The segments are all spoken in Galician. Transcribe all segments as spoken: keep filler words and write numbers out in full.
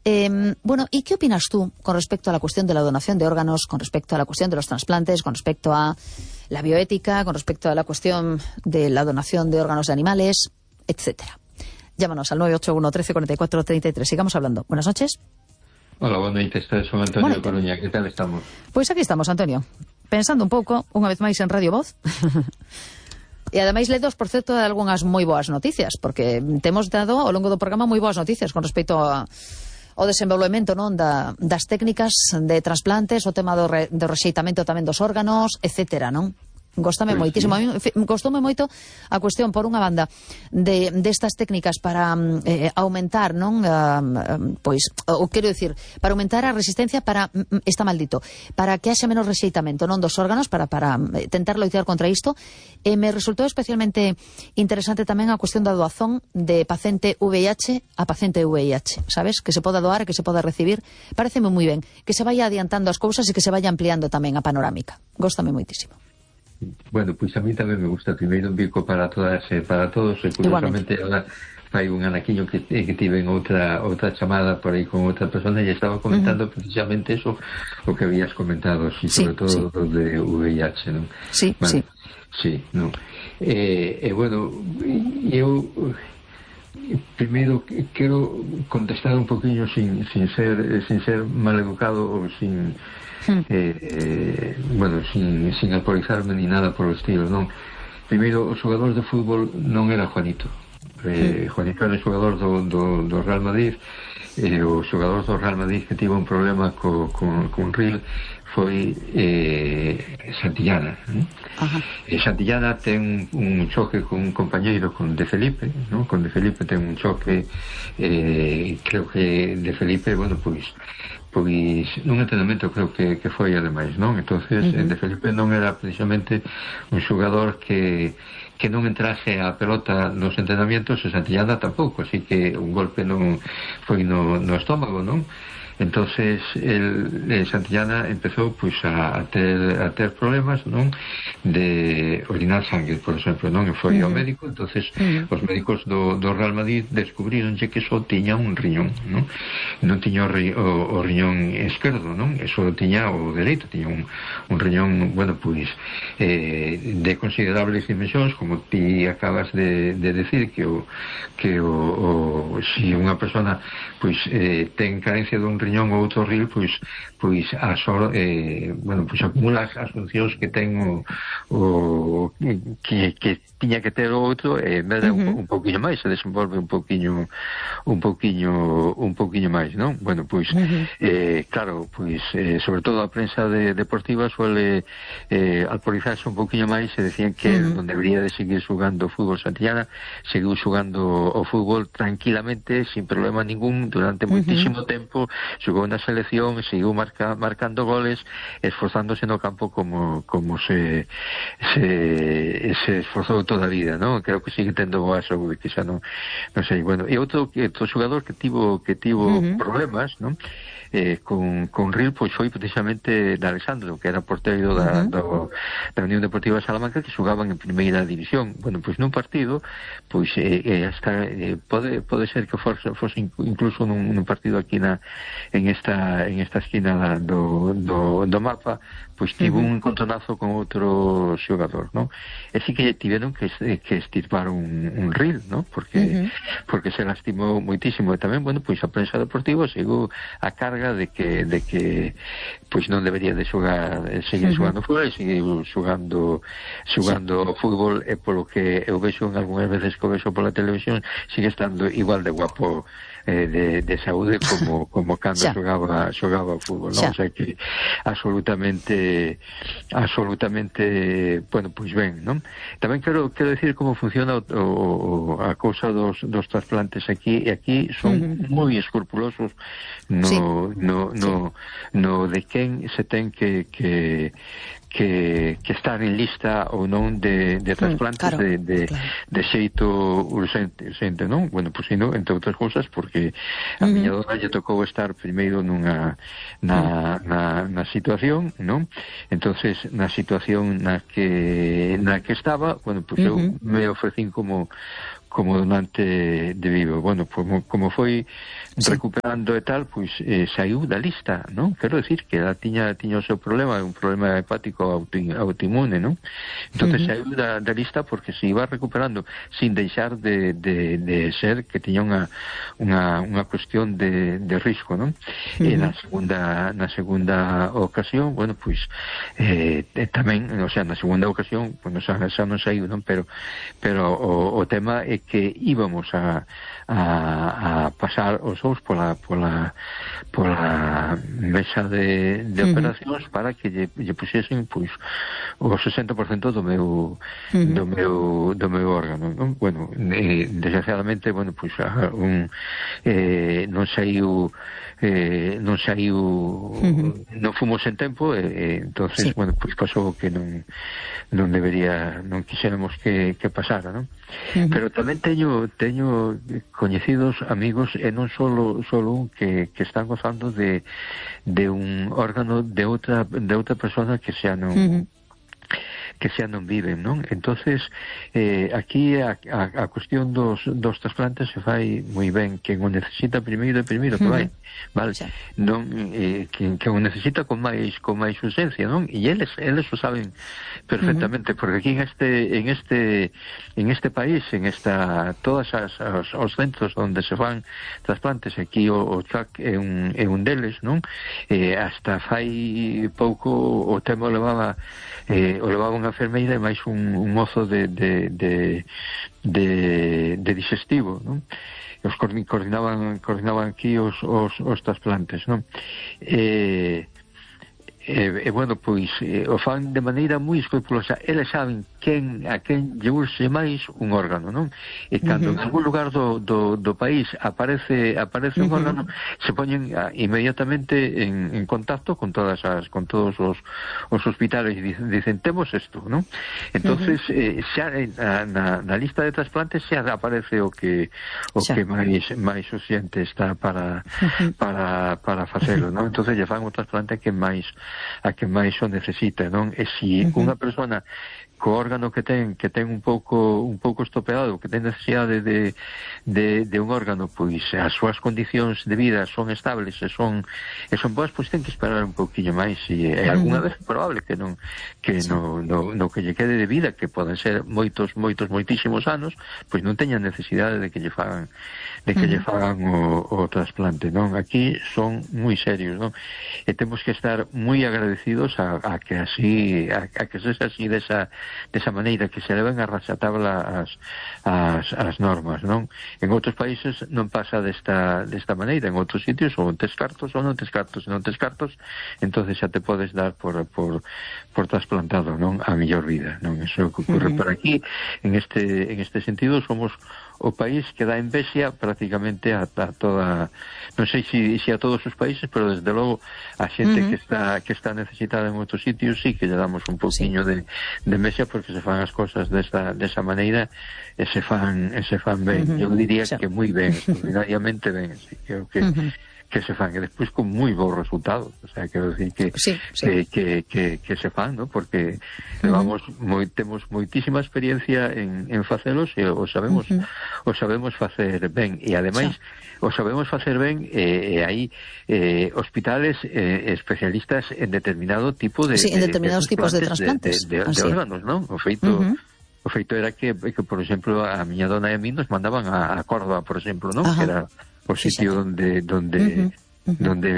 Eh, bueno, ¿y qué opinas tú con respecto a la cuestión de la donación de órganos, con respecto a la cuestión de los trasplantes, con respecto a la bioética, con respecto a la cuestión de la donación de órganos de animales, etcétera? Llámanos al nueve ocho uno, trece, cuarenta y cuatro, treinta y tres. Sigamos hablando. Buenas noches. Hola, buenas noches. Soy Antonio de Coruña. ¿Qué tal estamos? Pois aquí estamos, Antonio. Pensando un pouco, unha vez máis en Radio Voz. E ademais ledos, por certo, de algunhas moi boas noticias, porque temos dado ao longo do programa moi boas noticias con respecto a o desenvolvemento, non, da, das técnicas de trasplantes, o tema do, re, do rexeitamento tamén dos órganos, etcétera, non? Gostame pues moitísimo, sí. Gostoume moito a cuestión, por unha banda, de destas técnicas para eh, aumentar, non, uh, pois, o quero dicir, para aumentar a resistencia para, está maldito, para que haxa menos rexeitamento, non, dos órganos, para, para tentar loitar contra isto. E me resultou especialmente interesante tamén a cuestión da doazón de paciente V I H a paciente V I H, sabes? Que se poda doar e que se poda recibir. Pareceme moi ben, que se vaya adiantando as cousas e que se vaya ampliando tamén a panorámica. Góstame moitísimo. Bueno, pois a mí tamén me gusta. Primeiro un bico para todas e para todos, e curiosamente ahora fai un anaquiño que, que tive en outra outra chamada por aí con outra persona e estaba comentando uh-huh. precisamente eso o que habías comentado, sí, sobre sí, todo sí. Lo de V I H, non? Sí, bueno, sí. Sí, non. E, eh, bueno, eu primeiro quero contestar un poquinho sin, sin ser sin ser mal educado ou sin Eh, eh, bueno, sin, sin alcoholizarme ni nada por o estilo, non? Primeiro, o xogador de fútbol non era Juanito. eh, Juanito era o xogador do, do, do Real Madrid, e eh, o xogador do Real Madrid que tivo un problema co, con, con Ril foi eh, Santillana, eh? E Santillana ten un choque con un compañeiro, con De Felipe, ¿no? Con De Felipe ten un choque, eh, creo que De Felipe, bueno, pois pois nun entrenamento creo que, que foi ademais, non? Entonces uh-huh. De Felipe non era precisamente un xogador que que non entrase a pelota nos entrenamientos, e Santillana tampouco, así que un golpe non foi no, no estómago, non? Entonces el, el Santillana empezou pois a, a ter a ter problemas, non, de orinar sangue, por exemplo, non, e foi uh-huh. ao médico. Entonces uh-huh. os médicos do, do Real Madrid descubrironlle que só tiña un riñón, non, non tiña o, ri, o, o riñón esquerdo, non, e só tiña o dereito, tiña un, un riñón, bueno, pois eh, de considerables dimensións, como ti acabas de, de decir, que o que o, o si unha persona pois eh, ten carencia dun riñón ou outro ril, pois pois a sor, eh, bueno, pois acumula as, as funcións que ten o, o que, que tiña que ter o outro, e eh, medra uh-huh. un, un pouquiño máis, se desenvolve un pouquiño un pouquiño un pouquiño máis, non? Bueno, pois uh-huh. eh, claro, pois eh, sobre todo a prensa de, deportiva suele eh, alcoholizarse un pouquiño máis, e decían que uh-huh. non debería de seguir xugando fútbol. Santillana seguiu xugando o fútbol tranquilamente, sin problema ningún, durante uh-huh. moitísimo tempo. Xogou na selección, seguiu marca, marcando goles, esforzándose no campo como como se se, se esforzou toda a vida, non? Creo que sigue tendo boa saúde, que xa non, non sei, bueno. E outro, outro xogador que tivo que tivo uh-huh. problemas, non? Eh, con, con Ril, pois foi precisamente de Alexandro, que era porteiro da, uh-huh. do, da Unión Deportiva de Salamanca, que xogaban en primeira división. Bueno, pois nun partido, pois eh, eh, hasta, eh, pode, pode ser que fose, fose incluso nun, nun partido aquí na, en esta en esta esquina do, do, do mapa, pois tivo uh-huh. un encontronazo con outro xogador, non? E si que tiveron que, que estirpar un, un Ril, non? Porque, uh-huh. porque se lastimou moitísimo. E tamén, bueno, pois a prensa deportiva seguiu a carga de que de que pois non debería de xogar, seguir uh-huh. xogando fútbol, e seguir xogando xogando sí. fútbol, e polo que eu vexo en algunhas veces que o vexo pola televisión, sigue estando igual de guapo eh, de, de saúde como como cando xogaba xogaba fútbol, non? O sea que absolutamente absolutamente bueno, pois ben, non? Tamén quero quero decir como funciona o, o, a cousa dos, dos trasplantes aquí, e aquí son uh-huh. moi escrupulosos no sí. no, no, no de quen se ten que, que, que, que estar en lista ou non de, de trasplantes mm, claro, de, de, claro. de xeito urgente, urgente, non? Bueno, pois pues, non, entre outras cousas, porque a mm-hmm. miña dona lle tocou estar primeiro nunha na, na, na situación, non? Entonces, na situación na que na que estaba, bueno, pois pues mm-hmm. eu me ofrecín como como donante de vivo. Bueno, como, como foi recuperando e tal, pois eh, saiu da lista, non? Quero decir que ela tiña, tiña o seu problema, un problema hepático auto, autoinmune, non? Entón uh -huh. saiu da, da lista porque se iba recuperando sin deixar de, de, de ser que tiña unha, unha, unha cuestión de, de risco, non? Uh -huh. E na segunda, na segunda ocasión, bueno, pois eh, tamén, o sea, na segunda ocasión, bueno, xa, xa non saiu, non? Pero, pero o, o tema é que íbamos a, a, a pasar os ous pola, pola, pola mesa de, de uh -huh. operacións para que lle, lle puxesen pois, o sesenta por cento do meu, uh -huh. do meu, do meu órgano, non? Bueno, eh, desgraciadamente, bueno, pois, un, eh, non saiu eh, non saiu uh -huh. non fomos en tempo e eh, entonces, sí. bueno, pois pasou que non non debería, non quixéramos que, que pasara, non? Uh -huh. Pero tamén teño teño coñecidos amigos e non solo solo un que, que están gozando de, de un órgano de outra de outra persona que xa non uh -huh. que xa non viven, non? Entonces, eh, aquí a, a, a cuestión dos, dos trasplantes se fai moi ben. Quen o necesita primeiro e primeiro que vai, vale? Sí. Non, eh, quen, quen o necesita con máis con máis urgencia, non? E eles eles o saben perfectamente, uh -huh. porque aquí en este en este en este país, en esta todas as os, os centros onde se fan trasplantes, aquí o, o C A C é un é un deles, non? Eh, hasta fai pouco o tema levaba eh, o levaba unha enfermeira e máis un, un mozo de, de, de, de, de digestivo, non? Os coordinaban, coordinaban aquí os, os, os trasplantes, non? E, e, e bueno, pois eh, o fan de maneira moi escrupulosa. Eles saben quen, a quen lle urxe máis un órgano, non? E cando uh -huh. en algún lugar do, do, do país aparece aparece uh -huh. un órgano, se poñen a, inmediatamente en, en contacto con todas as con todos os, os hospitales e dicen, dicen temos isto, non? Entonces, uh -huh. eh, xa na, na lista de trasplantes xa aparece o que o xa. que máis máis urxente está para uh -huh. para para facelo, non? Entonces lle fan o trasplante que máis a que máis o necesita, non? E se uh -huh. unha persona co órgano que ten que ten un pouco un pouco estropeado, que ten necesidade de, de, de un órgano, pois as súas condicións de vida son estables e son e son boas, pois ten que esperar un pouquiño máis e, e algunha vez é probable que non que sí. no, no, no que lle quede de vida, que poden ser moitos, moitos, moitísimos anos, pois non teña necesidade de que lle fagan de que uh -huh. lle fagan o, o trasplante, non? Aquí son moi serios, non? E temos que estar moi agradecidos a, a que así a, a que sexa así desa desa maneira, que se leven a raxatabla as, as, as normas, non? En outros países non pasa desta, desta maneira, en outros sitios ou tes cartos ou non tes cartos, non tes cartos, entonces xa te podes dar por, por, por trasplantado, non? A mellor vida, non? Eso que ocurre uh -huh. por aquí, en este, en este sentido somos o país que dá envexa prácticamente a, a toda, non sei se si, si a todos os países, pero desde logo a xente uh -huh. que está que está necesitada en outros sitios sí que lle damos un pouquiño sí. de, de envexa porque se fan as cosas desa, desa maneira e se fan, e se fan ben. Uh -huh. Eu diría sí. que moi ben, extraordinariamente ben, así, creo que uh -huh. que se fan, e despois con moi bons resultados, o sea, quero decir que sí, sí. Que, que, que, que se fan, ¿no? Porque uh -huh. levamos moi, temos moitísima experiencia en, en facelos e o sabemos uh -huh. o sabemos facer ben, e ademais sí. o sabemos facer ben e, e hai eh, hospitales eh, especialistas en determinado tipo de, sí, en determinados de, de tipos de trasplantes de, de, de, de órganos, ¿no? O feito uh -huh. o feito era que, que, por exemplo, a miña dona e a mí nos mandaban a, a Córdoba, por exemplo, ¿no? Uh -huh. Que era o sitio sí, donde donde uh -huh, uh -huh. donde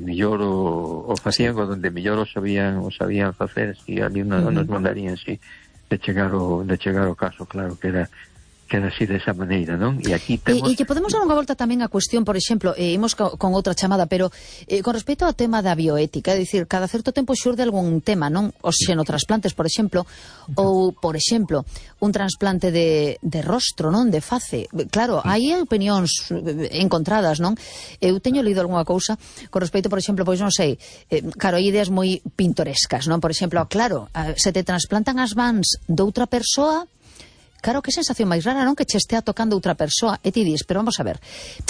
mellor o, o facían sí. o donde mellor o sabían o sabían facer, si ali no, uh -huh. nos mandarían si de chegar o de chegar o caso, claro que era que era así desa maneira, non? E aquí temos... E, e que podemos dar unha volta tamén a cuestión, por exemplo, eh, imos co, con outra chamada, pero eh, con respecto ao tema da bioética, é dicir, cada certo tempo xurde algún tema, non? Os xenotrasplantes, por exemplo, ou, por exemplo, un trasplante de, de rostro, non? De face. Claro, hai opinións encontradas, non? Eu teño lido algunha cousa con respecto, por exemplo, pois non sei, eh, claro, hai ideas moi pintorescas, non? Por exemplo, claro, se te trasplantan as mans doutra persoa, claro, que sensación máis rara, non? Que che estea tocando outra persoa. E ti dis, pero vamos a ver.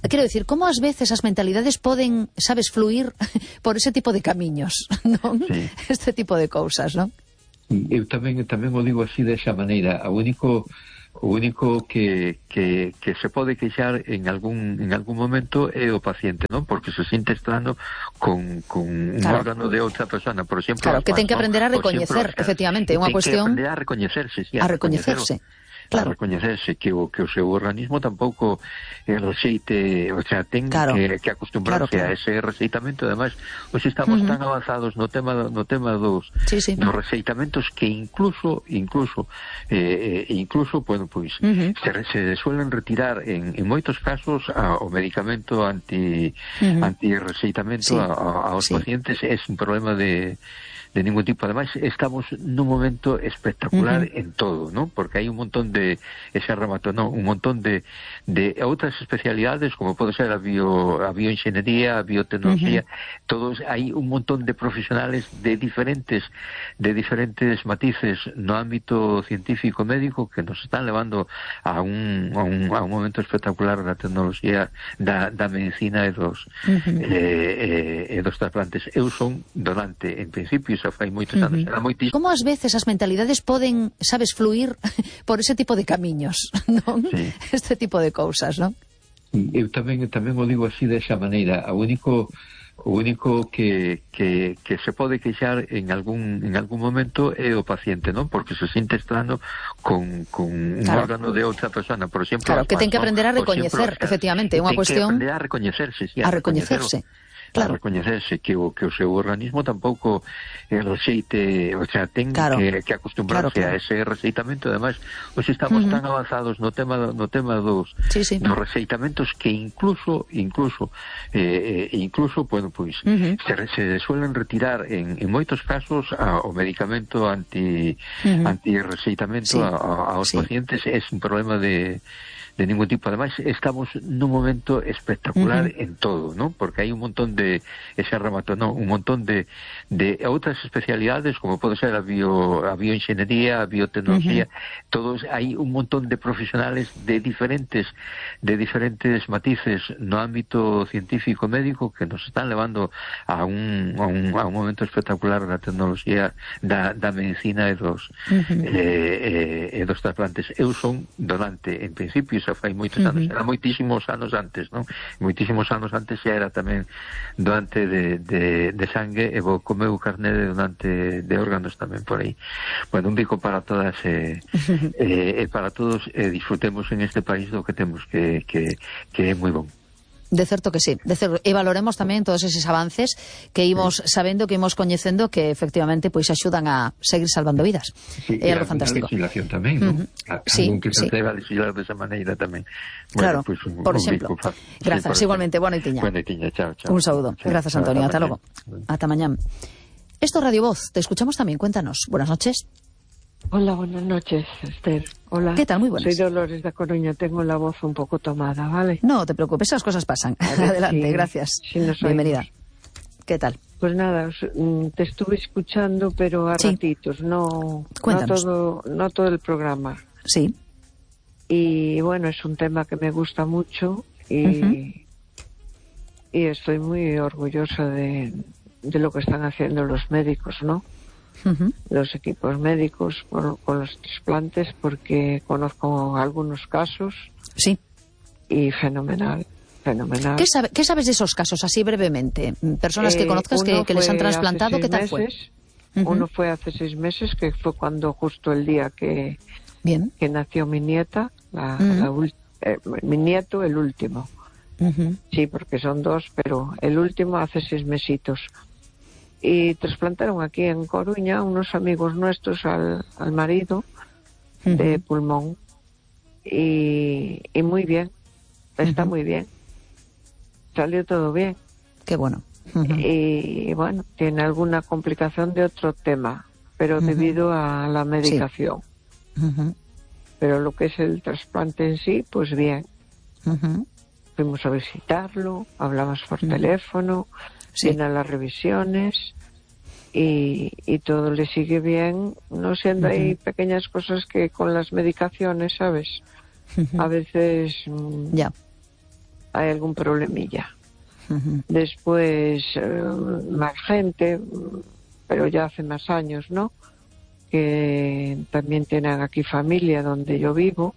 Quero dicir, como ás veces as mentalidades poden, sabes, fluir por ese tipo de camiños, non? Sí. Este tipo de cousas, non? Eu tamén tamén o digo así desa maneira. O único O único que, que, que se pode queixar en algún en algún momento é o paciente, non? Porque se siente estando con, con un claro. órgano de outra persona, por exemplo. Claro, que ten que aprender a ¿no? recoñecer, exemplo, efectivamente, é unha cuestión... Ten que aprender a recoñecerse, sí, a, a recoñecerse. Claro. A recoñecerse que o, que o seu organismo tampouco eh, receite, o sea, ten claro. que, que acostumbrarse claro, claro. a ese receitamento. Además, hoxe estamos uh-huh. tan avanzados no tema no tema dos, sí, sí. dos receitamentos que incluso incluso eh, incluso, bueno, pois uh-huh. se, se suelen retirar en, en moitos casos a, o medicamento anti uh-huh. anti-receitamento sí. a, a, aos sí. pacientes. É un problema de de ningún tipo. Además, estamos nun momento espectacular uh-huh. en todo, ¿no? Porque hai un montón de, ese remato, no, un montón de, de outras especialidades, como pode ser a, bio, a bioingeniería, a biotecnología, uh-huh. todos, hai un montón de profesionales de diferentes, de diferentes matices no ámbito científico médico que nos están levando a un, a un, a un momento espectacular da tecnología, da, da medicina e dos, uh-huh. eh, eh, e dos trasplantes. Eu son donante, en principio, xa fai moitos anos, era moitísimo. Como ás veces as mentalidades poden, sabes, fluir por ese tipo de camiños, non? Sí. Este tipo de cousas, non? Eu tamén tamén o digo así desa maneira. O único o único que, que, que se pode queixar en algún en algún momento é o paciente, non? Porque se siente estando con, con un claro. órgano de outra persona, por exemplo. Claro, que ten que aprender a recoñecer, efectivamente, é unha cuestión... Ten que aprender a recoñecerse, sí, a, a recoñecerse. Claro. A recoñecerse que o, que o seu organismo tampouco eh, receite, o sea, ten claro. que, que acostumbrarse claro, claro. a ese receitamento. Además, hoxe estamos uh-huh. tan avanzados no tema no tema dos, sí, sí. dos receitamentos que incluso incluso eh, incluso, bueno, pois uh-huh. se, se suelen retirar en, en moitos casos a, o medicamento anti uh-huh. anti-receitamento sí. a, a, aos sí. pacientes. É un problema de de ningún tipo. Además, estamos nun momento espectacular uh-huh. en todo, ¿no? Porque hai un montón de, ese remato, no, un montón de, de outras especialidades, como pode ser a, bio, a bioingeniería, a biotecnología, uh-huh. todos, hai un montón de profesionales de diferentes, de diferentes matices no ámbito científico médico que nos están levando a un, a un, a un momento espectacular da tecnología, da, da medicina e dos, uh-huh. eh, eh, e dos trasplantes. Eu son donante, en principio, fai moitos anos, uh-huh. era moitísimos anos antes, non? Moitísimos anos antes xa era tamén donante de, de, de sangue, e vou comeu carné de donante de órganos tamén por aí. Bueno, un bico para todas e uh-huh. eh, eh, para todos, eh, disfrutemos en este país do que temos, que, que, que é moi bon. De certo que sí, de certo, e valoremos tamén todos eses avances que imos sí. sabendo, que imos coñecendo, que efectivamente pois axudan a seguir salvando vidas. Sí, é algo fantástico. A legislación tamén, non? Uh-huh. A, sí, que se sí. atreva a legislar desa maneira tamén. Claro, bueno, pues, un, por un exemplo. Bico, Grazas, sí, igualmente. Buena noitiña. Buena noitiña, chao, chao. Un saúdo. Sí, Grazas, Antonio. Ata logo. Bueno. Ata mañán. Esto es Radio Voz. Te escuchamos también. Cuéntanos. Buenas noches. Hola, buenas noches, Esther. Hola. ¿Qué tal? Muy buenas. Soy Dolores da Coruña, tengo la voz un poco tomada, ¿vale? No te preocupes, esas cosas pasan. Adelante, sí, gracias. Sí, bienvenida. ¿Qué tal? Pues nada, te estuve escuchando, pero a sí. ratitos, no, no, todo, no todo el programa. Sí. Y bueno, es un tema que me gusta mucho y, uh-huh. y estoy muy orgullosa de, de lo que están haciendo los médicos, ¿no? Uh-huh. Los equipos médicos por, con los trasplantes, porque conozco algunos casos. Sí. Y fenomenal, fenomenal. ¿Qué, sabe, ¿Qué sabes de esos casos, así brevemente? Personas eh, que conozcas que, que les han trasplantado, ¿qué tal meses, fue? Uh-huh. Uno fue hace seis meses, que fue cuando justo el día que, Bien. que nació mi nieta, la, uh-huh. la, eh, mi nieto, el último. Uh-huh. Sí, porque son dos, pero el último hace seis mesitos. Y trasplantaron aquí en Coruña unos amigos nuestros al, al marido uh-huh. de pulmón y, y muy bien, está uh-huh. muy bien, salió todo bien. Qué bueno. Uh-huh. Y bueno, tiene alguna complicación de otro tema, pero uh-huh. debido a la medicación. Sí. Uh-huh. Pero lo que es el trasplante en sí, pues bien. Uh-huh. Fuimos a visitarlo, hablamos por uh-huh. teléfono. Sí. Vienen las revisiones y, y todo le sigue bien, no siendo uh-huh. hay pequeñas cosas que con las medicaciones, ¿sabes? Uh-huh. A veces mmm, yeah. hay algún problemilla. Uh-huh. Después, eh, más gente, pero ya hace más años, ¿no? Que también tienen aquí familia donde yo vivo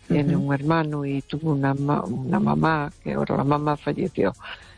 tiene uh-huh. un hermano y tuvo una, ma una mamá, que ahora la mamá falleció,